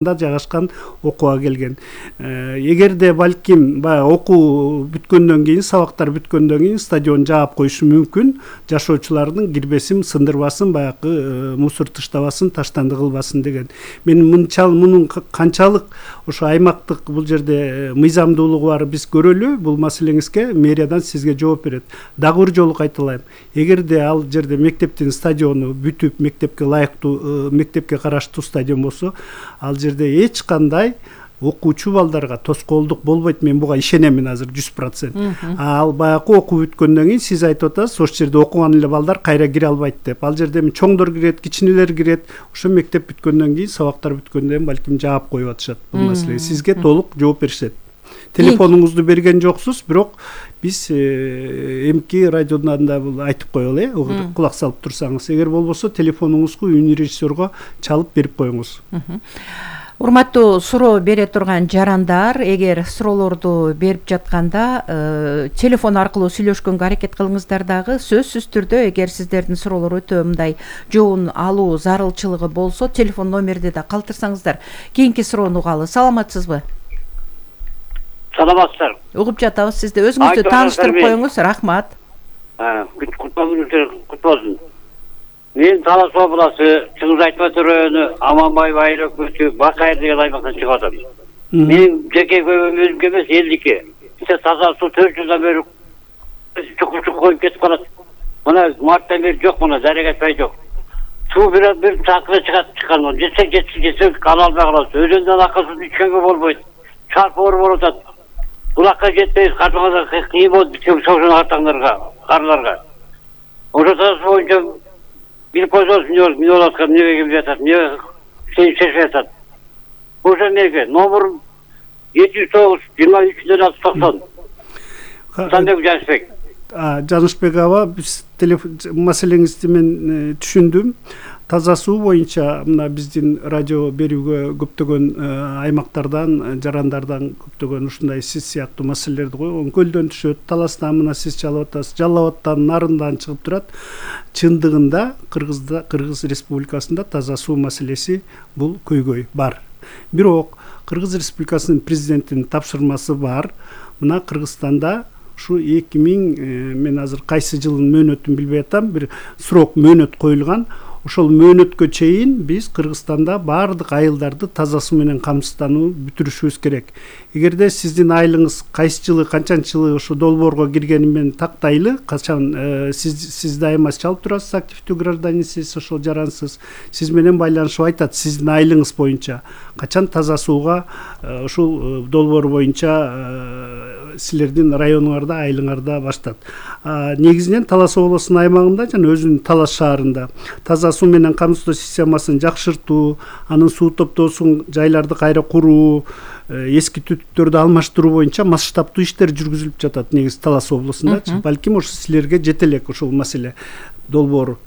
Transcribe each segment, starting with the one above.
жайгашкан окууга келген. Эгерде балким баягы окуу бүткөндөн кийин, сабактар бүткөндөн кийин стадион жаап коюшу мүмкүн, жашоочулардын кирбесин сындырбасын, баягы мусор таштабасын, таштанды кылбасын деген. Мен мунун канчалык ошо аймактык бул жерде мыйзамдуулугу бар биз көрөлү. Бул маселеңизге мэриядан сизге жооп берет. Дагы бир жолу кайталайм. Эгерде ал жерде мектептин стадиону бүтүп, мектепке ылайыктуу, мектепке караштуу стадион болсо, ал жерде эч кандай окуучу балдарга тоскоолдук болбойт. Мен буга ишенемин азыр 100%. Ал баягы окуу бүткөндөн кийин сиз айтып атасыз, ошол жерде окуган эле балдар кайра кире албайт деп. Ал жерде чоңдор кирет, кичинелер кирет. Ошо мектеп бүткөндөн кийин, сабактар бүткөндөн кийин балким жаап коюп атышат бул маселеге. Сизге толук жооп беришет. Телефонуңузду берген жоксуз, бирок биз эмки радиодан да бул айтып коелу, кулак салып турсаңыз. Эгер болбосо телефонуңузду үн режиссерго чалып берип коюңуз. Урматтуу суроо бере турган жарандар, эгер суроолорду берип жатканда телефон аркылуу сүйлөшкөнгө аракет кылыңыздар. Дагы сөзсүз түрдө эгер сиздердин суроолор өтө мындай жоон алуу зарылчылыгы болсо, телефон номерди да калтырсаңыздар. Кийинки суроону угалы. Саламатсызбы? Саламатсыздар. Угуп жатабыз. Сизди өзүңүздү тааныштырып коюңуз. Рахмат. Кут болсун. Мен Талас областы Чыңгыз Айтбай району Аманбай айыл өкмөтү Бакайыр деген аймактан чыгып атам. Мен жеке көйгөм өзүмгө эмес, элдики. Бизде таза суу 4 жылдан бери чукуп коюп кетип калат. Мына марттан бери жок, мына зарек айтпай жок. Суу бир такыры чыккан. Жетсе ала албай калабыз. Өзөндөн акы суу ичкенге болбойт. Чарпы болуп атат. Булакка жетпейбиз, картаңарга кыйын болуп бүткөн шошон картаңдарга, карларга. Ошол боюнча бир позос мен олаткан неге келип жатат, эмне шешип жатат. Ошо эмеге номер 709 23 90. Сандык Жанышбек. Жанышбек аба, биз маселеңизди мен түшүндүм. Таза суу боюнча мына биздин радио берүүгө көптөгөн аймактардан, жарандардан көптөгөн ушундай сиз сыяктуу маселелерди койгон. Көлдөн түшөт, Таластан мына сиз чалып атасыз, Жалал Абадтан, Нарындан чыгып турат. Чындыгында Кыргыз Республикасында таза суу маселеси бул көйгөй бар. Бирок Кыргыз Республикасынын президентинин тапшырмасы бар. Мына Кыргызстанда ушу 2000 мен азыр кайсы жылдын мөөнөтүн билбей атам, бир срок мөөнөт коюлган. Ошол мөөнөткө чейин биз Кыргызстанда баардык айылдарды таза суу менен камсыздануу бүтүрүшүбүз керек. Эгерде сиздин айылыңыз кайсы жылы, канчанчы жылы ошо долбоорго киргени менен тактайлы, качан сиз дайыма чалып турасыз, активдүү гражданинсиз, ошол жарансыз. Сиз менен байланышып айтат сиздин айылыңыз боюнча качан таза сууга ушул долбоор боюнча силердин районуңарда, айылыңарда баштат. Негизинен Талас облусунун аймагында жана өзүнүн Талас шаарында таза суу менен камсыздоо системасын жакшыртуу, анын суу топтоосун жайларды кайра куруу, эски түтүктөрдү алмаштыруу боюнча масштабтуу иштер жүргүзүлүп жатат негизи Талас облусунда. Балким ошо силерге жете элек ошол маселе долбоор.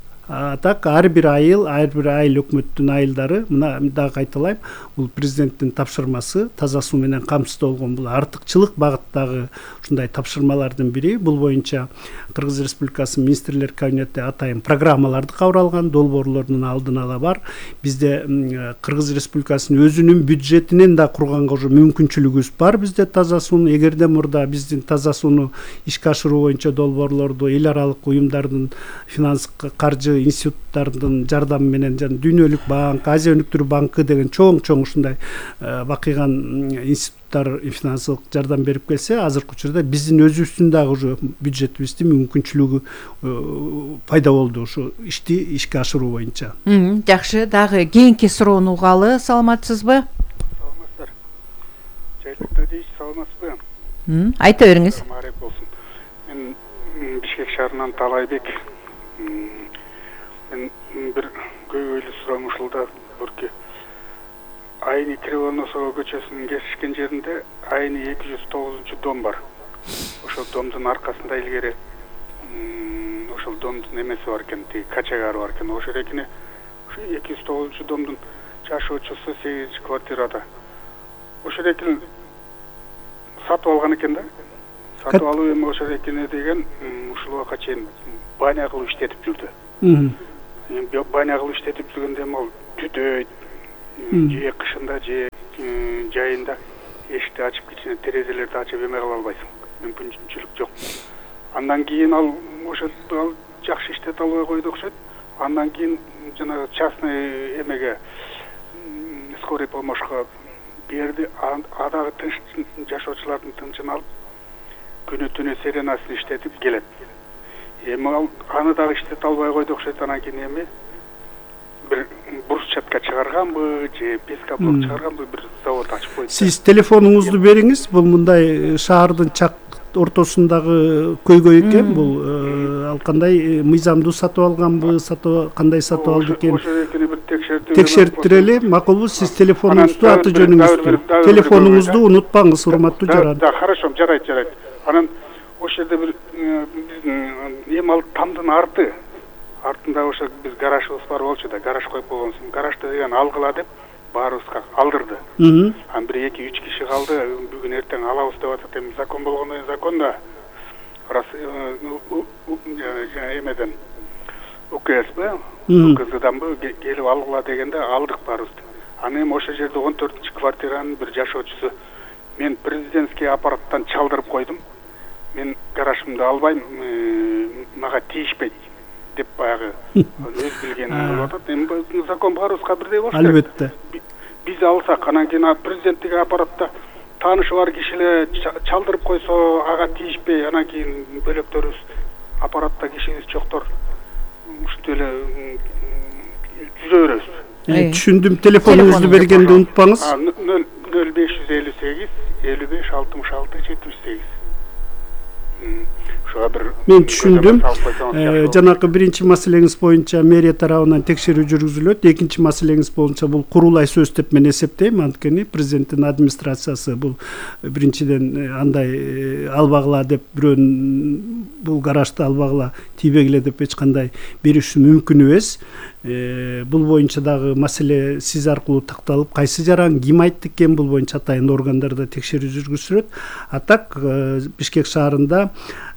Так ар бир айыл өкмөттүн айылдары, мына дагы кайталайм, бул президенттин тапшырмасы таза суу менен камсыздоо болгон. Бул артыкчылык багыттагы ушундай тапшырмалардын бири. Бул боюнча Кыргыз Республикасынын министрлер кабинети атайын программаларды кабыл алган, долбоорлордун алдын ала бар. Бизде Кыргыз Республикасынын өзүнүн бюджетинен да курганга уже мүмкүнчүлүгүбүз бар. Бизде таза сууну эгерде мурда биздин таза сууну ишке ашыруу боюнча долбоорлорду эл аралык уюмдардын, финанс каржы институттардын жардамы менен, жана Дүйнөлүк банк, Азия өнүктүрүү банкы деген чоң ушундай бакыйган институттар финансылык жардам берип келсе, азыркы учурда биздин өзүбүздүн дагы уже бюджетибиздин мүмкүнчүлүгү пайда болду ушу ишти ишке ашыруу боюнча. Жакшы, дагы кийинки суроону угалы. Саламатсызбы? Саламатсыздар. Жайлыкта дейсиз, саламатсызбы? Айта бериңиз. Мен Бишкек шаарынан Талайбек. Мен бир көйгөйлүү суроом ушулда бурки. Айны Кривоносова көчөсүнүн кесишкен жеринде Айны 209 дом бар. Ошол домдун аркасында илгери ошол домдун эмеси бар экен, качагары бар экен. Ошол экине 209 домдун жашоочусу 8-квартирада. Ошол экин сатып алган экен да. Сатып алуу эми ошол экине деген ушул убакка чейин баня кылып иштетип жүрдү. Баня кылып иштетип жүргөндө ал түтөйт, же кышында же жайында эшикти ачып кичине терезелерди ачып эме кыла албайсың, мүмкүнчүлүк жок. Андан кийин ал жакшы иштете албай койду окшойт. Андан кийин жанагы частный эмеге скорый помощька берди. Адагы тынч жашоочулардын тынчын алып, күнү түнү сиренасын иштетип келет. Эми ал аны дагы иштете албай койду окшойт. Анан кийин эми бир брусчатка чыгарганбы же пескоблок чыгарганбы бир завод ачып койду. Сиз телефонуңузду бериңиз. Бул мындай шаардын чак ортосундагы көйгөй экен. Бул ал кандай мыйзамдуу сатып алганбы, кандай сатып алды экен? Текшертирели, макулбу? Сиз телефонуңузду, аты жөнүңүздү, телефонуңузду унутпаңыз, урматтуу жаран. Да, хорошо, жарайт. Анан ошол жерде бир эми ал тамдын артында ошо биз гаражыбыз бар болчу да, гараж коюп койгонсуң. Гаражды деген алгыла деп баарыбызга алдырды. Анан 1-2-3 киши калды. Бүгүн эртең алабыз деп атат. Эми закон болгондон кийин закон да. Раз эмеден УКСбы, УКСданбы келип алгыла дегенде алдык баарыбызды. Анан эми ошол жерде 14-квартиранын бир жашоочусу мен президентский аппараттан чалдырып койдум. Мен гаражымды албайм, мага тийишпейт деп баягы өз билгенин кылып атат. Эми закон баарыбызга бирдей болуш керек. Албетте. Биз алсак, анан кийин президенттик аппаратта таанышы бар киши эле чалдырып койсо, ага тийишпей, анан кийин бөлөктөрүбүз аппаратта кишибиз жоктор ушинтип эле жүзө беребиз. Түшүндүм. Телефонуңузду бергенди унутпаңыз. 0558 55 66 78. Мен түшүндүм. Жанакы биринчи маселеңиз боюнча мэрия тарабынан текшерүү жүргүзүлөт. Экинчи маселеңиз боюнча бул курулай сөз деп мен эсептейм. Анткени президенттин администрациясы бул биринчиден андай албагыла деп бирөөнүн бул гаражды албагыла тийбегиле деп эч кандай бериши мүмкүн эмес. Бул боюнча дагы маселе сиз аркылуу такталып, кайсы жаран ким айтты экен, бул боюнча атайын органдарда текшерүү жүргүзүлөт. А так Бишкек шаарында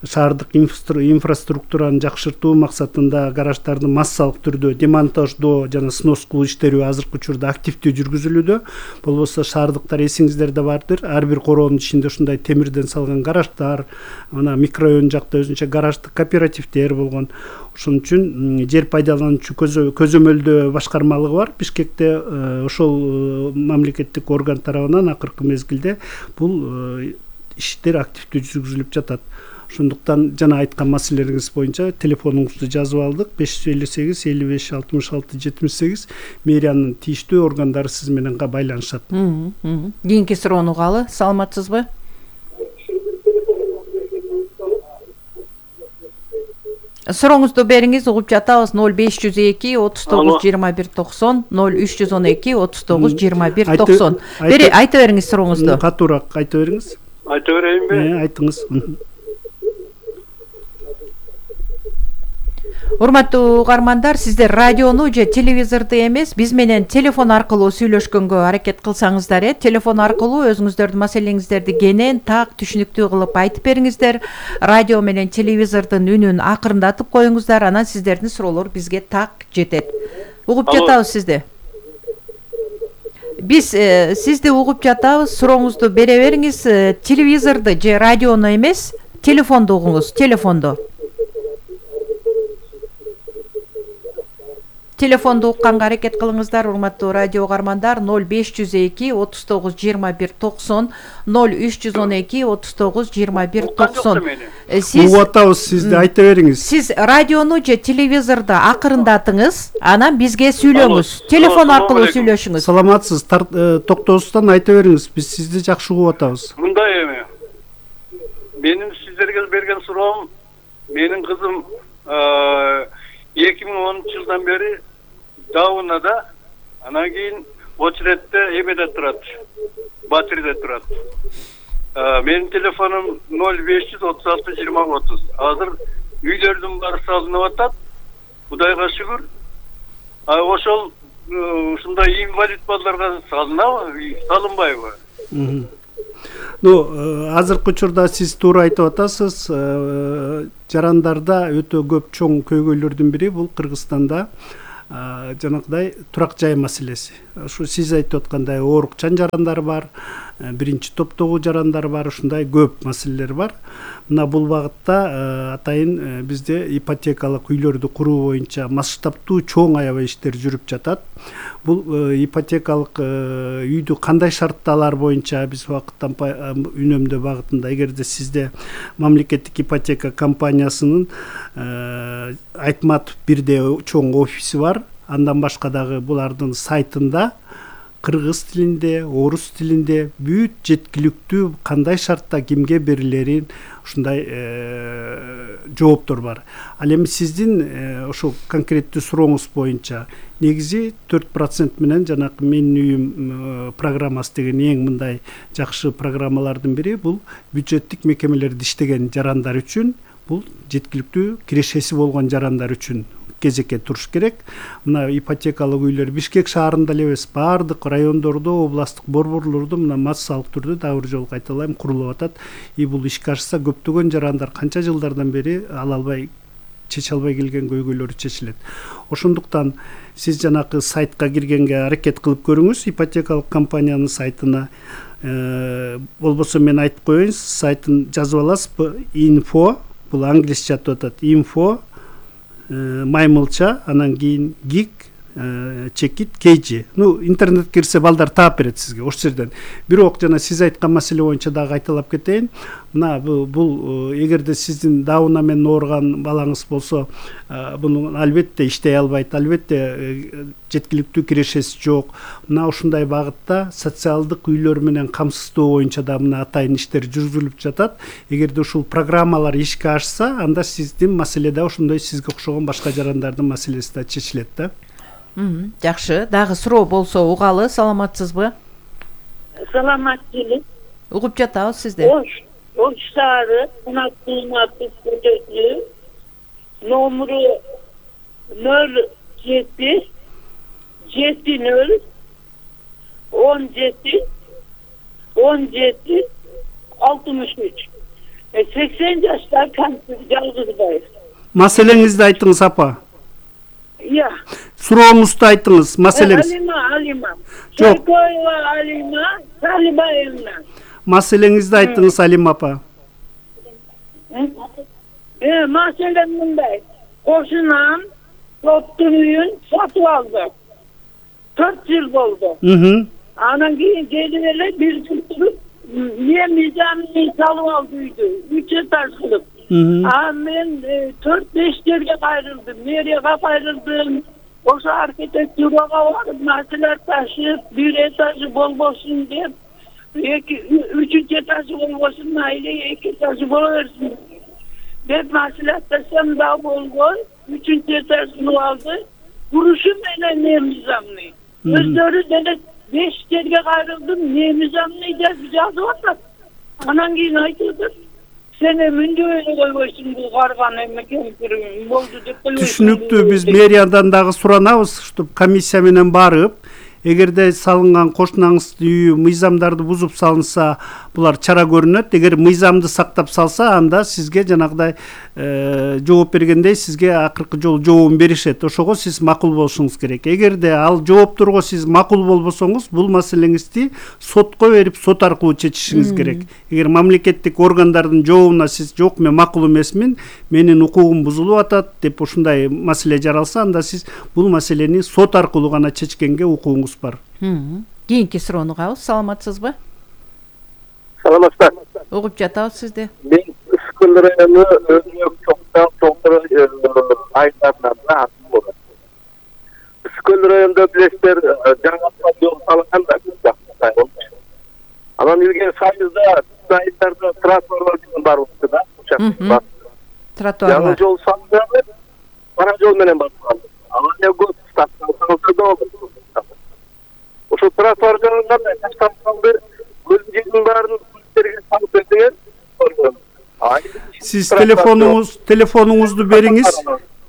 шаардык инфраструктураны жакшыртуу максатында гараждарды массалык түрдө демонтаждоо жана снос кылуу иштери азыркы учурда активдүү жүргүзүлүүдө. Болбосо шаардыктар эсиңиздерде бардыр. Ар бир короонун ичинде ушундай темирден салган гараждар, мына микрорайон жакта өзүнчө гараждык кооперативдер болгон. Ошон үчүн жер пайдалануучу көзөмөлдөө башкармалыгы бар Бишкекте. Ошол мамлекеттик орган тарабынан акыркы мезгилде бул иштер активдүү жүргүзүлүп жатат. Ошондуктан жана айткан маселелериңиз боюнча телефонуңузду жазып алдык. 558 55 66 78. Мэриянын тийиштүү органдары сиз менен байланышат. Кийинки суроону угалы. Саламатсызбы? Сурооңузду бериңиз, угуп жатабыз. 0502 39 21 90 0312 39 21 90. Айта бериңиз сурооңузду. Катуураак айта бериңиз. Айта берейинби? Айтыңыз. Урматтуу угармандар, сиздер радиону же телевизорду эмес, биз менен телефон аркылуу сүйлөшкөнгө аракет кылсаңыздар, телефон аркылуу өзүңүздөрдүн маселеңиздерди кенен так түшүнүктүү кылып айтып бериңиздер. Радио менен телевизордун үнүн акырындатып коюңуздар, анан сиздердин суроолор бизге так жетет. Угуп жатабыз сизди. Биз сизди угуп жатабыз. Сурооңузду бере бериңиз. Телевизорду же радиону эмес, телефонду угуңуз, телефонду. Телефонду укканга аракет кылыңыздар, урматтуу радио угармандар. 0502 39 21 90 0312 39 21 90. Сиз угатабыз, сизди айта бериңиз. Сиз радиону же телевизорду акырындатыңыз, анан бизге сүйлөңүз. Телефон аркылуу сүйлөшүңүз. Саламатсыз, токтоосуздан айта бериңиз. Биз сизди жакшы угуп атабыз. Мындай эми. Менин сиздерге берген суроом, менин кызым 2010-жылдан бери Даунада, анан кийин очередте эмеде турат, Батириде турат. Менин телефонум 0536 20 30. Азыр үйлөрдүн баары салынып атат. Кудайга шүгүр. Ошол ушундай инвалид балдарга салынабы, салынбайбы? Азыркы учурда сиз туура айтып атасыз. Жарандарда өтө көп чоң көйгөйлөрдүн бири бул Кыргызстанда жанагыдай турак жай маселеси. Ушу сиз айтып аткандай оорукчан жарандар бар, биринчи топтогу жарандар бар, ушундай көп маселелер бар. Мына бул багытта атайын бизде ипотекалык үйлөрдү куруу боюнча масштабтуу чоң аябай иштер жүрүп жатат. Бул ипотекалык үйдү кандай шартталар боюнча биз убакыттан үнөмдөө багытында, эгерде сизде мамлекеттик ипотека компаниясынын Айтматов бирде чоң офиси бар, андан башка дагы булардын сайтында кыргыз тилинде, орус тилинде бүт жеткиликтүү кандай шартта кимге берилерин ушундай жооптор бар. Ал эми сиздин ошо конкреттүү сурооңуз боюнча негизи 4% менен жанагы Менин үйүм программасы деген эң мындай жакшы программалардын бири. Бул бюджеттик мекемелерде иштеген жарандар үчүн, бул жеткиликтүү кирешеси болгон жарандар үчүн кезекке туруш керек. Мына ипотекалык үйлөр Бишкек шаарында эле эмес, баардык райондордо, областтык борборлордо мына массалык түрдө дагы бир жолу кайталайм курулуп атат. Бул ишке ашса көптөгөн жарандар канча жылдардан бери ала албай, чече албай келген көйгөйлөрү чечилет. Ошондуктан сиз жанагы сайтка киргенге аракет кылып көрүңүз, ипотекалык компаниянын сайтына. Болбосо мен айтып коеюн, сайтын жазып аласызбы? Info, бул англисче атап атат. Info маймылча, анан кийин гиг чекит KG. Интернет кирсе балдар таап берет сизге ошол жерден. Бирок жана сиз айткан маселе боюнча дагы кайталап кетейин. Мына бул эгерде сиздин дауна менен ооруган балаңыз болсо, буну албетте иштей албайт, албетте жеткиликтүү кирешеси жок. Мына ушундай багытта социалдык үйлөр менен камсыздоо боюнча да мына атайын иштер жүргүзүлүп жатат. Эгерде ушул программалар ишке ашса, анда сиздин маселе да ошондой сизге окшогон башка жарандардын маселеси да чечилет да. Жакшы, дагы суроо болсо угалы. Саламатсызбы? Саламат эле. Угуп жатабыз сизди. Ош шаары, Кунактыйматов көчөсү, номеру 07 70 17 17 63. 80 жаштар жалгызбайбыз. Маселеңизди айтыңыз апа. Иә. Сурооңузду айтыңыз, маселеңиз. Алима. Жок. Алима Салибаевна. Маселеңизди айтыңыз, Алима апа. Маселем мындай. Кошунам топтун үйүн сатып алды. 4 жыл болду. Анан кийин келип эле бир жыл туруп, мен мыйзамын салып алды үйдү. 3 этаж кылып. Мен 4-5 жерге кайрылдым, мэрияга кайрылдым. Ошо архитектурага барып маселе ташып, бир этажы болбосун деп, 3-үчү этажы болбосун, мейли 2 этажы боло берсин деп маселе ташсам да болгон. 3-үчү этажын алды. Курушу менен мыйзамны. Өздөрү деле 5 жерге кайрылдым, мыйзамны жазып атат. Анан кийин айтып, сен мүндөө койбойсуң, бул карган эметкен болду деп койбойсуң. Түшүнүктүү, биз мэриядан дагы суранабыз, чтобы комиссия менен барып, эгерде салынган кошунаңыздын үйү мыйзамдарды бузуп салынса, булар чара көрүнөт. Эгер мыйзамды сактап салса, анда сизге жанагыдай жооп бергендей сизге акыркы жолу жообун беришет. Ошого сиз макул болушуңуз керек. Эгерде ал жоопторго сиз макул болбосоңуз, бул маселеңизди сотко берип, сот аркылуу чечишиңиз керек. Эгер мамлекеттик органдардын жообуна сиз жок, мен макул эмесмин, менин укугум бузулуп атат деп ушундай маселе жаралса, анда сиз бул маселени сот аркылуу гана чечкенге укугуңуз бар. Кийинки суроону угабыз. Саламатсызбы? Саламатсыздар. Угуп жатабыз сизди. Мен Үскөл району Өмөк Чоңтор айылдарынан атым болот. Үскөл районунда билесиздер, жаңы жол салынган да. Анан илгери Союзда айылдарда тротуарлар бар болчу да. Тротуарлар. Жаңы жол салынган, кара жол менен баскан. Анан көп стационарда болду. Ошо тротуар жанында ташталган көздөрдүн баарын күлтерге салып бердиңер. Сиз телефонуңузду бериңиз.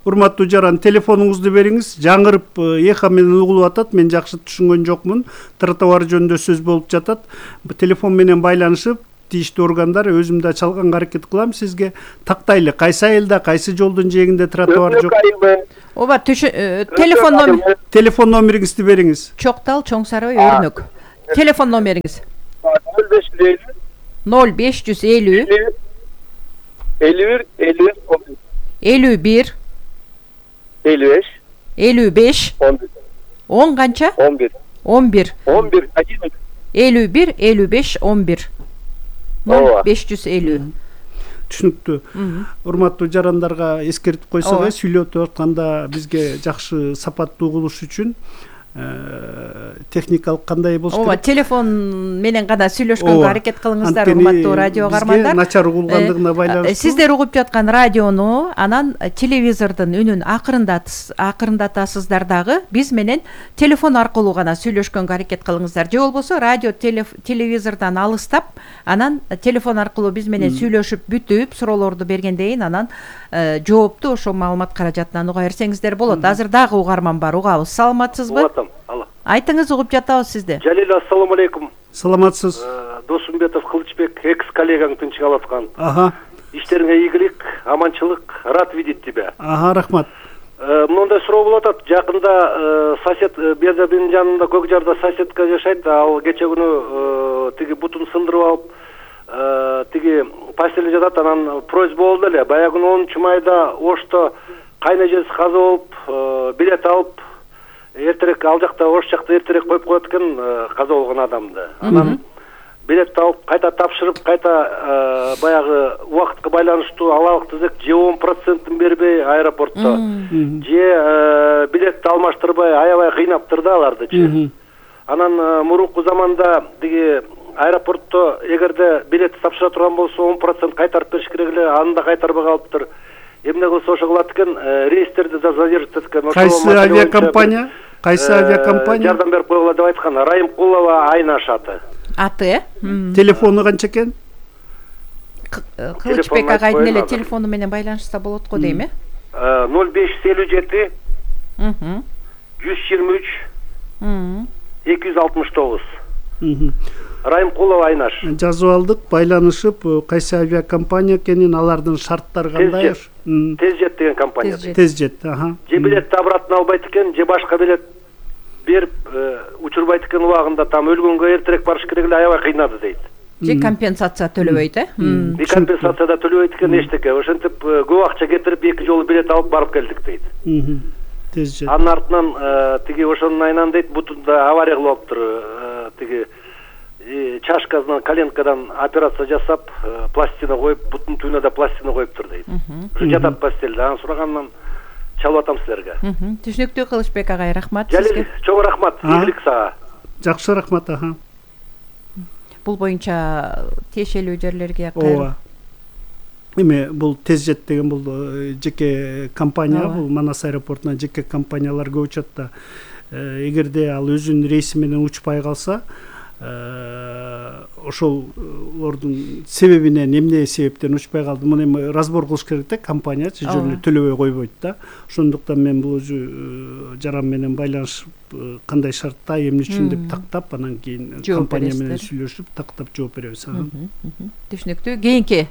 Урматтуу жаран, телефонуңузду бериңиз. Жаңырып эха менен угулуп атат. Мен жакшы түшүнгөн жокмун. Тротуар жөнүндө сөз болуп жатат. Телефон менен байланышып, тийиштүү органдар өзүм да чалганга аракет кылам. Сизге тактайлы кайсы айылда, кайсы жолдун жээгинде тротуар жок? ооба телефон номериңизди бериңиз. Чоктал Чоң Сарай Өрнөк. Телефон номериңиз 0550 51 55 10 канча? 11 51 55 11 0550. Түшүнүктүү. Урматтуу жарандарга эскертип койсок, сүйлөтүп атканда бизге жакшы сапаттуу угулуш үчүн техникалык кандай болуш керек? Ооба, телефон менен гана сүйлөшкөнгө аракет кылыңыздар, урматтуу радио кармандар. Начар угулгандыгына байланыштуу. Сиздер угуп жаткан радиону, анан телевизордун үнүн акырындатасыздар дагы. Биз менен телефон аркылуу гана сүйлөшкөнгө аракет кылыңыздар. Же болбосо радио телевизордон алыстап, анан телефон аркылуу биз менен сүйлөшүп бүтүп, суроолорду бергенден кийин анан жоопту ошо маалымат каражатынан уга берсеңиздер болот. Азыр дагы угарман бар, угабыз. Саламатсызбы? Айтыңыз, угуп жатабыз сизди. Жалил, ассаламу алейкум. Саламатсыз. Досумбетов Кылычбек, экс коллегаң тынчык алып аткан. Иштериңе ийгилик, аманчылык, рад видеть тебя. Рахмат. Мындай суроо болуп атат. Жакында сосед, берде менин жанымда Көк Жарда соседка жашайт. Ал кече күнү тиги бутун сындырып алып, тиги постелде жатат. Анан просьба болду эле. Баягы 10-майда Ошто кайын эжеси каза болуп, билет алып, эртерээк ал жакта Ош жакта эртерээк коюп коет экен каза болгон адамды. Анан билет алып, кайта тапшырып, кайта баягы убакытка байланыштуу алалык тизек же 10% бербей аэропортто, же билетти алмаштырбай аябай кыйнаптыр да алардычы. Анан мурунку заманда тиги аэропортто эгерде билетти тапшыра турган болсо 10% кайтарып бериш керек эле, аны да кайтарбай калыптыр. Эмне кылса ошо кылат экен, рейстерди задерживать эткен. Кайсы авиакомпания? Жардам берип койгула деп айткан. Райымкулова Айнаш аты. Телефону канча экен? Кылычбек агайдын эле телефону менен байланышса болот го дейм, 0557 123 269. Райымкулова Айнаш. Жазып алдык, байланышып, кайсы авиакомпания экенин, алардын шарттары кандай? Тезжет деген компания. Тезжет, Же билетти обратно албайт экен, же башка билет берип учурбайт экен убагында, там өлгөнгө эртерээк барыш керек эле, аябай кыйнады дейт. Же компенсация төлөбөйт, Компенсация да төлөбөйт экен эчтеке. Ошентип көп акча кетирип 2 жолу билет алып барып келдик дейт. Тезжет. Анын артынан тиги ошонун айынан дейт, бутунда авария кылып алыптыр. Тиги чашкасынан, коленкадан операция жасап, пластина коюп, бутун түбүнө да пластина коюптур дейт. Жатат постелде. Анан сурагандан чалып атам силерге. Түшүнүктүү, Кылычбек агай, рахмат сизге. Жалил, чоң рахмат. Ийгилик сага. Жакшы, рахмат. Бул боюнча тиешелүү жерлерге кайрылып. Эми бул Тезжет деген бул жеке компания, бул Манас аэропортуна жеке компаниялар көп учат да. Эгерде ал өзүнүн рейси менен учпай калса, ошолордун себебинен, эмне себептен учпай калды, муну эми разбор кылыш керек да, компания жөнүндө төлөбөй койбойт да. Ошондуктан мен бул өзү жаран менен байланышып, кандай шартта, эмне үчүн деп тактап, анан кийин компания менен сүйлөшүп, тактап жооп беребиз. Түшүнүктүү. Кийинки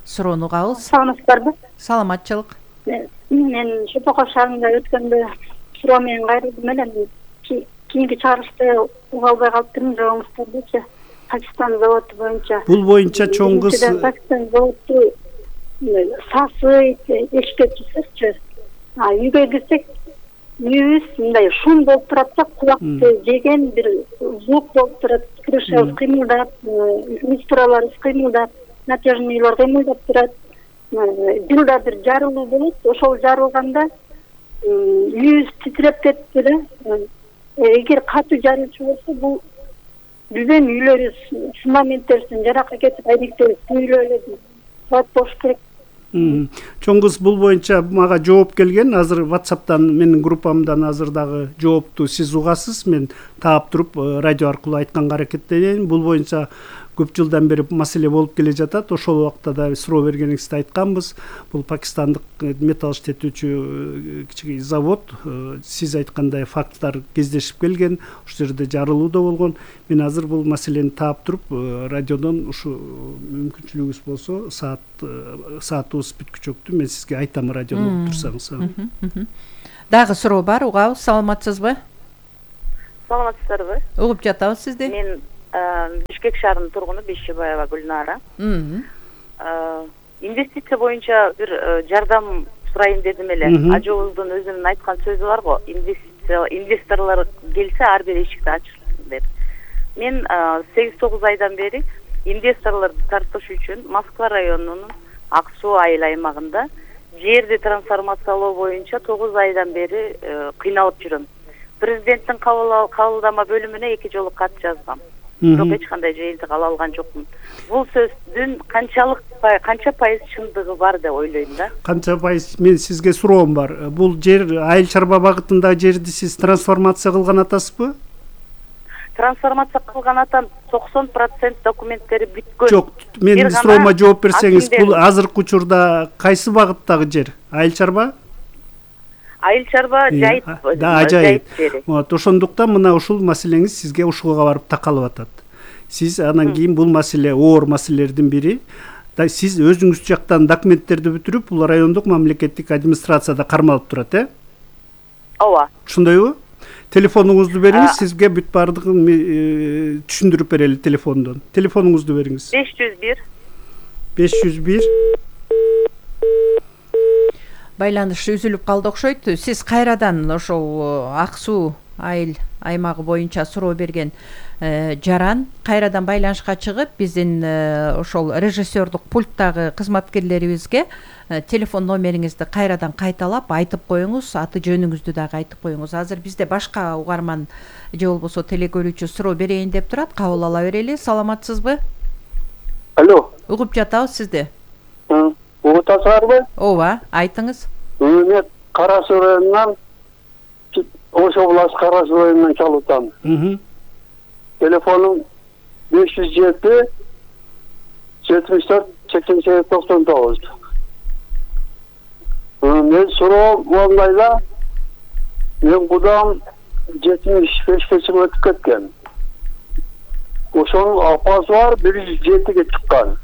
суроону угабыз. Саламатсыздарбы? Саламатчылык. Мен Шопоков шаарында өткөндө суроо менен кайрылдым эле. Кийинки чыгарышты уга албай калыптырмын, жоогуңуздардычы. Пакистан заводу боюнча. Бул боюнча чоң кыз Пакистан заводу сасы эшкетчисизчи. Үйгө кирсек, үйүбүз мындай шум болуп турат да, кулакты жеген бир звук болуп турат. Крыша кыймылдап, люстралар кыймылдап, натяжныйлар кыймылдап турат. Жылда бир жарылуу болот. Ошол жарылганда үйүбүз титиреп кетти эле. Эгер катуу жарылчу болсо, бул биздин үйлөрүбүз фундаменттерибизден жаракка кетип, айнектери күйүлүп эле болуш керек. Чоң кыз бул боюнча мага жооп келген. Азыр WhatsApp'тан менин группамдан азыр дагы жоопту сиз угасыз. Мен таап туруп радио аркылуу айтканга аракеттенейин. Бул боюнча көп жылдан бери маселе болуп келе жатат. Ошол убакта да суроо бергениңизде айтканбыз. Бул пакистандык металл иштетүүчү кичине завод. Сиз айткандай факттар кездешип келген. Ошол жерде жарылуу да болгон. Мен азыр бул маселени таап туруп, радиодон ушу мүмкүнчүлүгүңүз болсо, саатыбыз бүткүчөктү. Мен сизге айтам, радиону угуп турсаңыз. Дагы суроо бар, угабыз. Саламатсызбы? Саламатсыздарбы? Угуп жатабыз сизди. Мен Бишкек шаарынын тургуну Бейшебаева Гүлнара. Инвестиция боюнча бир жардам сурайын дедим эле. Ажообуздун өзүнүн айткан сөзү бар го, инвесторлор келсе ар бир эшикти ачылсын деп. Мен 8-9 айдан бери инвесторлорду тартыш үчүн Москва районунун Ак Суу айыл аймагында жерди трансформациялоо боюнча 9 айдан бери кыйналып жүрөм. Президенттин кабылдама бөлүмүнө 2 жолу кат жазгам. Бирок эч кандай жыйынтык ала алган жокмун. Бул сөздүн канча пайыз чындыгы бар деп ойлойм да. Канча пайыз? Мен сизге суроом бар. Бул жер айыл чарба багытындагы жерди сиз трансформация кылган атасызбы? Трансформация кылган атам 90% документтери бүткөн. Жок, менин суроома жооп берсеңиз, бул азыркы учурда кайсы багыттагы жер? Айыл чарба? Айыл чарба жайыт. Да, ажайып. Вот, ошондуктан мына ушул маселеңиз сизге ушуга барып такалып атат. Сиз анан кийин бул маселе оор маселелердин бири. Сиз өзүңүз жактан документтерди бүтүрүп, бул райондук мамлекеттик администрацияда кармалып турат, Ооба. Ошондойбу? Телефонуңузду бериңиз, сизге бүт баардыгын түшүндүрүп берели телефондон. Телефонуңузду бериңиз. 501. Байланыш үзүлүп калды окшойт. Сиз кайрадан ошол Ак Суу айыл аймагы боюнча суроо берген жаран кайрадан байланышка чыгып, биздин ошол режиссердук пульттагы кызматкерлерибизге телефон номериңизди кайрадан кайталап айтып коюңуз, аты жөнүңүздү дагы айтып коюңуз. Азыр бизде башка угарман же болбосо телекөрүүчү суроо берейин деп турат. Кабыл ала берели. Саламатсызбы? Алло. Угуп жатабыз сизди. Угуп атасызбы? Ооба, айтыңыз. Мен Кара Суу районунан, Ош областы Кара Суу районунан чалып атам. Телефонум 507 74 88 99. Мен суроо мондайда, мен кудам 75 жыл өтүп кеткен. Ошонун апасы бар, 107-ге чыккан.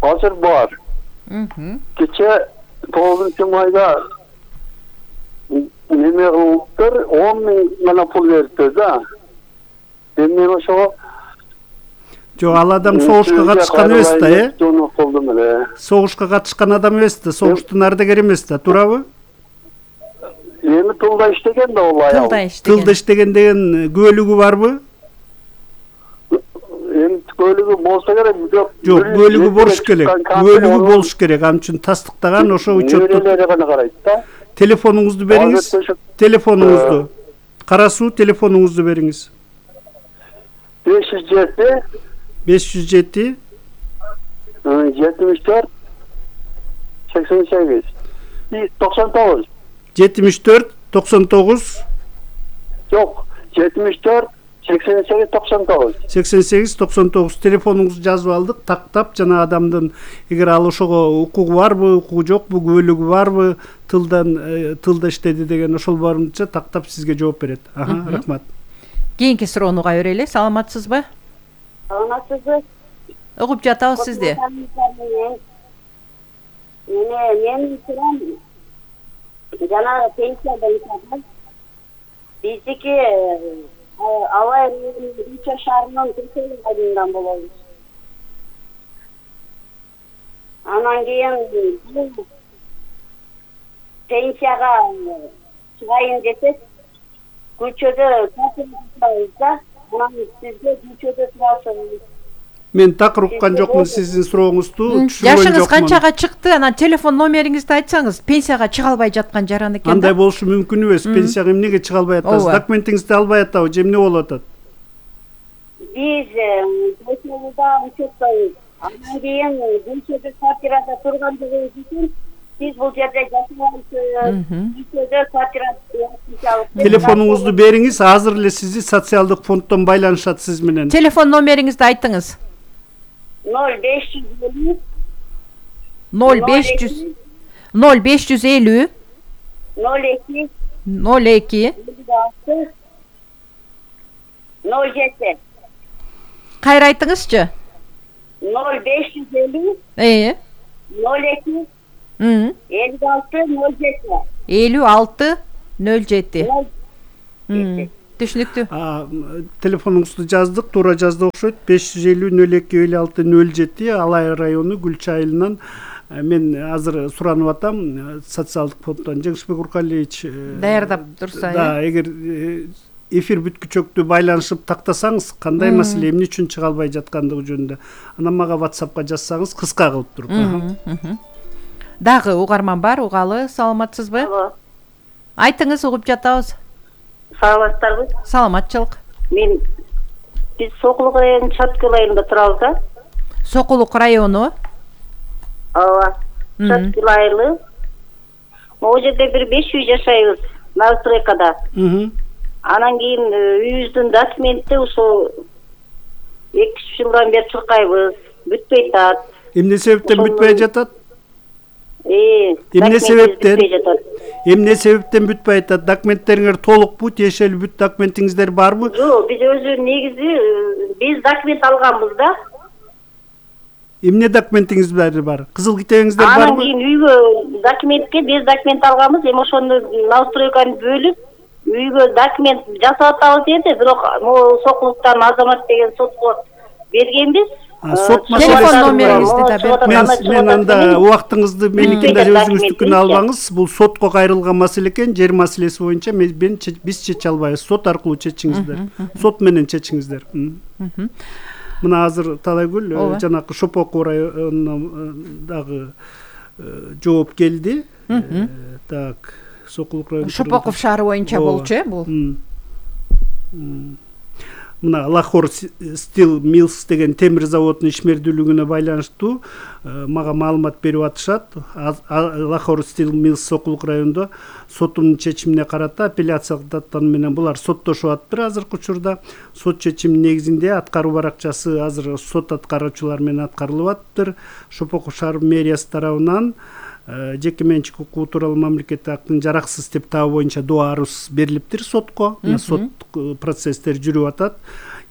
Азыр бар. Кече 9-майда неме кылыптыр, 10 миң гана пул бериптир да. Мен ошого Жок, ал адам согушка катышкан эмес да, Согушка катышкан адам эмес да, согуштун ардагери эмес да, туурабы? Эми тылда иштеген да ол аял. Тылда иштеген деген күбөлүгү барбы? Эми күбөлүгү болсо керек, жок. Жок, күбөлүгү болуш керек. Күбөлүгү болуш керек. Ал үчүн тастыктаган ошо учетту. Телефонуңузду бериңиз. Телефонуңузду. Кара Суу телефонуңузду бериңиз. 507 74 88 99. 74 99. Жок, 74 88 99. 88 99 телефонуңузду жазып алдык. Тактап жана адамдын эгер ал ошого укугу барбы, укугу жокпу, күбөлүгү барбы, тылда иштеди деген ошол барынча тактап сизге жооп берет. Рахмат. Кийинки суроону уга берели. Саламатсызбы? Саламатсызбы? Угуп жатабыз сизди. Мен сурам жана пенсия боюнча биздики Алай Рича шаарынын Түркөй айылынан болобуз. Анан кийин пенсияга чыгайын десек, көчөдө турабыз да, анан сизге көчөдө турасыз. Мен так уккан жокмун сиздин сурооңузду, түшүнбөй жокмун. Жашыңыз канчага чыкты? Анан телефон номериңизди айтсаңыз, пенсияга чыга албай жаткан жаран экен да. Андай болушу мүмкүн эмес. Пенсияга эмнеге чыга албай атасыз? Документиңизди албай атабы, же эмне болуп атат? Биз көчөдө учеттойбуз. Анан кийин көчөдө квартирада тургандыгыбыз үчүн биз бул жерде жашабайбыз. Көчөдө квартира. Телефонуңузду бериңиз, азыр эле сизди социалдык фонддон байланышат сиз менен. Телефон номериңизди айтыңыз. 0550 0550 02 07 Кайра айтыңызчы. 0550 02 56 07 5607. Түшүнүктүү. Телефонуңузду жаздык, туура жазды окшойт. 550-02-56-07 Алай району Гүлча айылынан. Мен азыр суранып атам социалдык фонддон Жеңишбек Уркалиевич даярдап турса. Да, эгер эфир бүткүчөктү байланышып тактасаңыз, кандай маселе эмне үчүн чыга албай жаткандыгы жөнүндө анан мага WhatsAppка жазсаңыз кыска кылып туруп. Дагы угарман бар, угалы, саламатсызбы? Алло. Айтыңыз, угуп жатабыз. Саламатсыздарбы? Саламатчылык. Биз Сокулук районунун Чаткыл айылында турабыз да. Сокулук району? Ооба. Чаткыл айылы. Могу жерде бир 5 үй жашайбыз, новостройкада. Анан кийин үйүбүздүн документи ушул 2 жылдан бери чуркайбыз, бүтпөй атат. Эмне себептен бүтпөй жатат? Эмне себептен бүтпөй атат? Документтериңер толукпу, тиешелүү бүт документиңиздер барбы? Жок, биз өзү негизи биз документ алганбыз да. Эмне документиңиздер бар? Кызыл китебиңиздер барбы? Анан кийин үйгө документке без документ алганбыз, эми ошону новостройканы бөлүп үйгө документ жасап атабыз деди, бирок могу Сокулуктан Азамат деген сотко бергенбиз. Телефон номериңизди да бериңиз. Мен анда убактыңызды меникинде өзүңүздүкүнө албаңыз. Бул сотко кайрылган маселе экен. Жер маселеси боюнча биз чече албайбыз. Сот аркылуу чечиңиздер. Сот менен чечиңиздер. Мына азыр Талайгүл жанакы Шопоков районунан дагы жооп келди. Так, Сокулук району. Шопоков шаары боюнча болчу, бул. Мына Лахор Steel Mills деген темир заводунун ишмердүүлүгүнө байланыштуу мага маалымат берип атышат. Лахор Steel Mills Сокулук районунда соттун чечимине карата апелляциялык даттан менен булар соттошуп атыптыр азыркы учурда. Сот чечими негизинде аткаруу баракчасы азыр сот аткаруучулар менен аткарылып атыптыр. Шопоков шаар мэриясы тарабынан жеке менчик укугу тууралуу мамлекеттик актын жараксыз деп табуу боюнча доо арыз берилиптир сотко. Сот процесстер жүрүп атат.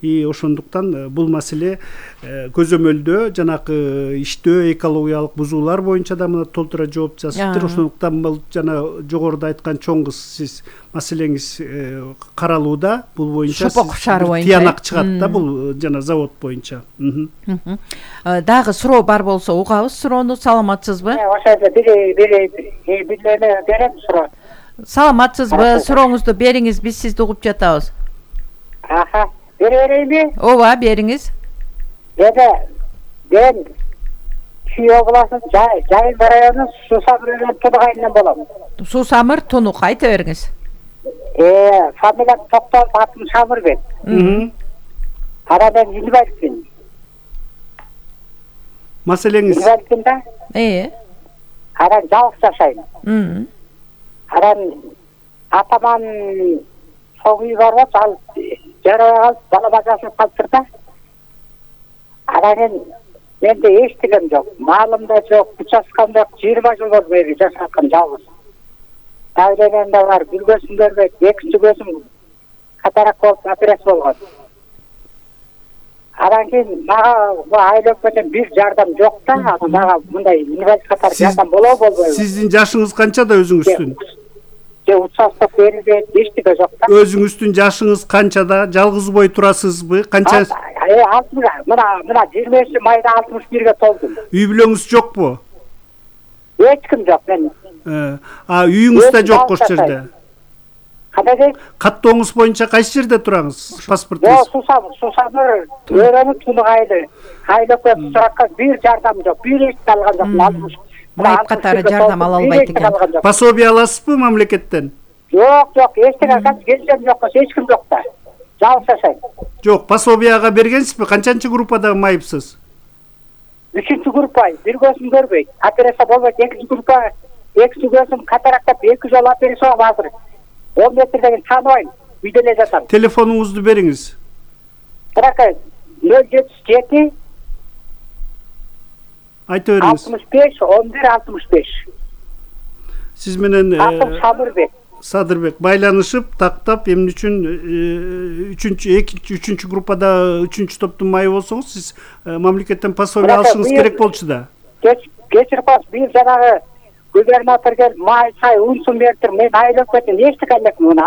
Ошондуктан бул маселе көзөмөлдөө жанакы иштөө экологиялык бузуулар боюнча да мына толтура жооп жазыптыр. Ошондуктан бул жана жогоруда айткан чоң кыз сиз маселеңиз каралууда. Бул боюнча тыянак чыгат да бул жана завод боюнча. Дагы суроо бар болсо угабыз суроону. Саламатсызбы? Ошондо бирлерine берем суроо. Саламатсызбы? Сурооңузду бериңиз, биз сизди угуп жатабыз. Берейинби? Ооба, бериңиз. Мен Чүй областынын Жайын районунун Сусамыр Тунук айылынан болом. Сусамыр Тунук, айта бериңиз. Фамилиям Токтоев, атым Шамырбек. Анан мен инвалидмин. Маселеңиз? Инвалидмин да. Анан жалгыз жашайм. Анан атаман соң үй бар болчу, ал жарабай калып, бала бажасып калыптыр да. Анан менде эчтегем жок, маалым да жок, участкам жок, 20 жыл болду мен жашаткан жалгыз. Давлением да бар, бир көзүм көрбөйт, экинчи көзүм катарак болуп операция болгон. Анан кийин мага бу айыл өкмөтүнөн бир жардам жок да, мага мындай инвалид катары жардам болобу болбойбу? Сиздин жашыңыз канчада өзүңүздүн? Участок берилбейт, эчтеке жок да. Өзүңүздүн жашыңыз канчада? Жалгыз бой турасызбы? Канча? Мына 23 майда 61-ге толдум. Үй бүлөңүз жокпу? Эч ким жок мен. Үйүңүз да жок ошол жерде. Кандай? Каттооңуз боюнча кайсы жерде тураңыз? Паспортуңуз? Сусамыр өрөнү Тунук айылы. Айылда суракка бир жардам жок, бир эч алган жок. Майып катары жардам ала албайт экен. Пособие аласызбы мамлекеттен? Жок, эчтеке келсем жок, эч ким жок да. Жалгыз жашайм. Жок, пособияга бергенсизби? Канчанчы группада майыпсыз? 3-чү группа, бир көзүм көрбөйт. Операция болбойт, 2-чү группа, 2 көзүм катарактап 2 жолу операция болуп азыр. 10 метрден тааныбайм, үйдө эле жатам. Телефонуңузду бериңиз. 077 Айта бериңиз. 65 11 65. Сиз менен Садырбек байланышып, тактап, эмне үчүн 3-чү группада 3-чү топтун майы болсоңуз, сиз мамлекеттен пособие алышыңыз керек болчу да. Кечирип коюңуз, бир жанагы губернатор келип май сай унсун бериптир, мен айлап кеттим, эчтеке элекмин.